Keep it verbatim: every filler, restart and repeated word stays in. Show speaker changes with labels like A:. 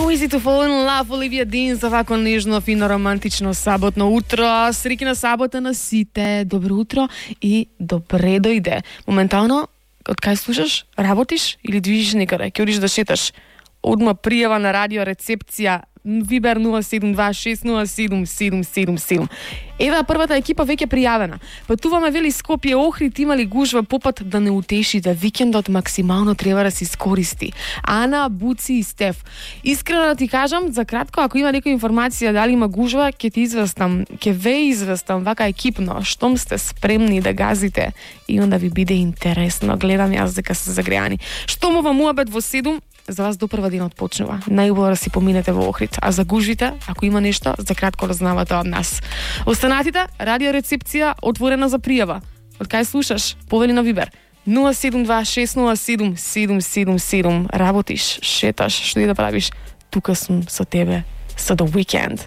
A: So easy to fall in love, Оливија Дин, за вако нежно, фино, романтично саботно утро. Среќна сабота на сите. Добро утро и добре дојде. Моментално, од кај слушаш, работиш или движиш некаде, ќе одиш да шеташ, одма пријава на радио рецепција Вибер нула седум два шест нула седум седум седум седум. Ева првата екипа веќе пријавена. Патуваме вели Скопје Охрид, имали гужва по пат да не утешите. Викендот максимално треба да се искористи. Ана, Буци и Стеф. Искрено да ти кажам, за кратко, ако има некоја информација дали има гужва, ќе ти известам, ќе ве известам вака екипно, штом сте спремни да газите и онда ви биде интересно. Гледам јас дека се загреани. Штом ова муабет во седум, за вас допрва денот почнува. Најубаво да си поминете во Охрид, а за гужвите, ако има нешто, за кратко разнавате од нас. Останатите, радио рецепција отворена за пријава. Од кај слушаш? Повели на Вибер нула седум два шест нула седум седум седум седум. Работиш, шеташ, што и да правиш, тука сум со тебе со The Weekend.